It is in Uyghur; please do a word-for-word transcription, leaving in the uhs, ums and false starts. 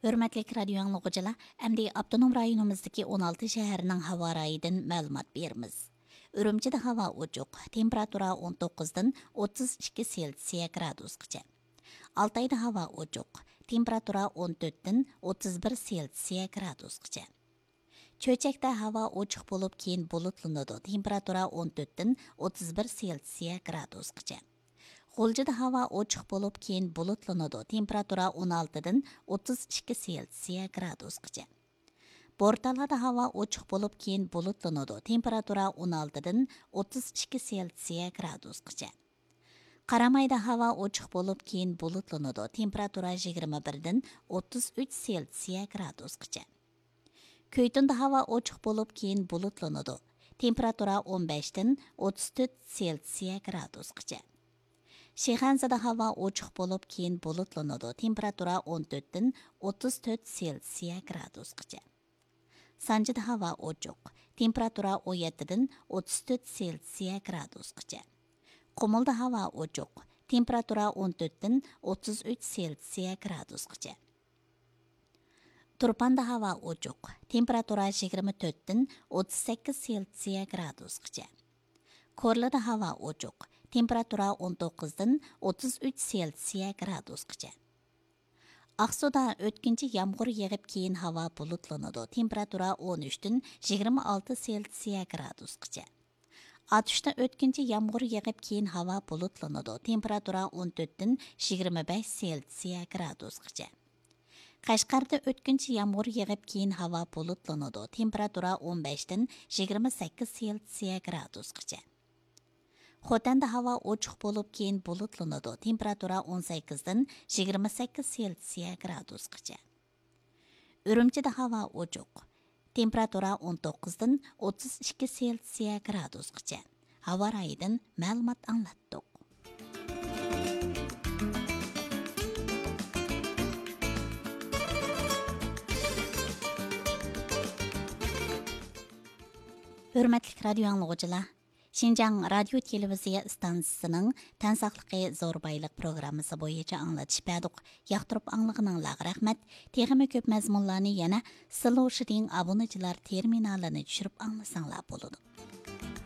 ھۆرمەتلىك رادىيو ئاڭلىغۇچىلار، ئەمدى ئاپتونوم رايونىمىزدىكى ئون ئالتە شەھەرنىڭ ھاۋا رايىدىن مەلۇمات بېرىمىز. ئۈرۈمچىدە ھاۋا ئوچۇق، تېمپېراتۇرا ئون توققۇزدىن ئوتتۇز ئىككى سېلسىيە گرادۇسقىچە. ئالتايدا ھاۋا ئوچۇق، تېمپېراتۇرا ئون تۆتتىن ئوتتۇز بىر سېلسىيە گرادۇسقىچە. چۆچەكتە ھاۋا ئوچۇق بولۇپ، كېيىن بۇلۇتلىنىدۇ، تېمپېراتۇرا ئون تۆتتىن ئوتتۇز بىر سېلسىيە گرادۇسقىچە. غۇلجىدا ھاۋا ئوچۇق بولۇپ، كېيىن بۇلۇتلىنىدۇ، تېمپېراتۇرا ئون ئالتىدىن ئوتتۇز ئىككى سېلسىيە گرادۇسقىچە. بورتالادا ھاۋا ئوچۇق بولۇپ، كېيىن بۇلۇتلىنىدۇ، تېمپېراتۇرا ئون ئالتىدىن ئوتتۇز ئىككى سېلسىيە گرادۇسقىچە. قارامايدا ھاۋا ئوچۇق بولۇپ، كېيىن بۇلۇتلىنىدۇ، تېمپېراتۇرا يىگىرمە بىردىن ئوتتۇز ئۈچ سېلسىيە گرادۇسقىچە. كۆيتۈندە ھاۋا ئوچۇق بولۇپ، كېيىن بۇلۇتلىنىدۇ، تېمپېراتۇرا ئون بەشتىن ئوتتۇز تۆت سېلسىيە گرادۇسقىچە. شىخەنزىدە ھاۋا ئوچۇق بولۇپ، كېيىن بۇلۇتلىنىدۇ، تېمپېراتۇرا ئون تۆتتىن ئوتتۇز تۆت سېلسىيە گرادۇسقىچە. سانجىدا ھاۋا ئوچۇق، تېمپېراتۇرا ئون يەتتىدىن ئوتتۇز تۆت سېلسىيە گرادۇسقىچە. قۇمۇلدا ھاۋا ئوچۇق، تېمپېراتۇرا ئون تۆتتىن ئوتتۇز ئۈچ سېلسىيە گرادۇسقىچە. تۇرپاندا ھاۋا ئوچۇق، تېمپېراتۇرا يىگىرمە تۆتتىن ئوتتۇز سەككىز سېلسىيە گرادۇسقىچە. كورلىدا ھاۋا ئوچۇق، تېمپېراتۇرا ئون توققۇزدىن ئوتتۇز ئۈچ سېلسىيە گرادۇسقىچە. ئاقسۇدا ئۆتكۈنچى يامغۇر يېغىپ، كېيىن ھاۋا بۇلۇتلىنىدۇ، تېمپېراتۇرا ئون ئۈچتىن يىگىرمە ئالتە سېلسىيە گرادۇسقىچە. ئاتۇشتا ئۆتكۈنچى يامغۇر يېغىپ، كېيىن ھاۋا بۇلۇتلىنىدۇ، تېمپېراتۇرا ئون تۆتتىن يىگىرمە بەش سېلسىيە گرادۇسقىچە. قەشقەردە ئۆتكۈنچى يامغۇر يېغىپ، كېيىن ھاۋا بۇلۇتلىنىدۇ، تېمپېراتۇرا ئون بەشتىن يىگىرمە سەككىز سېلسىيە گرادۇسقىچە. خوتەندە ھاۋا ئوچۇق بولۇپ، كېيىن بۇلۇتلىنىدۇ، تېمپېراتۇرا ئون سەككىزدىن يىگىرمە سەككىز سېلسىيە گرادۇسقىچە. ئۈرۈمچىدە ھاۋا ئوچۇق، تېمپېراتۇرا ئون توققۇزدىن ئوتتۇز ئىككى سېلسىيە گرادۇسقىچە. ھاۋا رايىدىن مەلۇمات ئاڭلاتتۇق. ھۆرمەتلىك رادىيو ئاڭلىغۇچىلار، شىنجاڭ رادىيو تېلېۋىزىيە ئىستانسىسىنىڭ تەن ساقلىقى زور بايلىق پروگراممىسى بويىچە ئاڭلىتىش بەردۇق. ياقتۇرۇپ ئاڭلىغىنىڭلارغا رەھمەت. تېخىمۇ كۆپ مەزمۇنلارنى يەنە سىلوشىدىڭ ئابۇنىچىلار تېرمىنالىنى چۈشۈرۈپ ئاڭلىساڭلار بولىدۇ.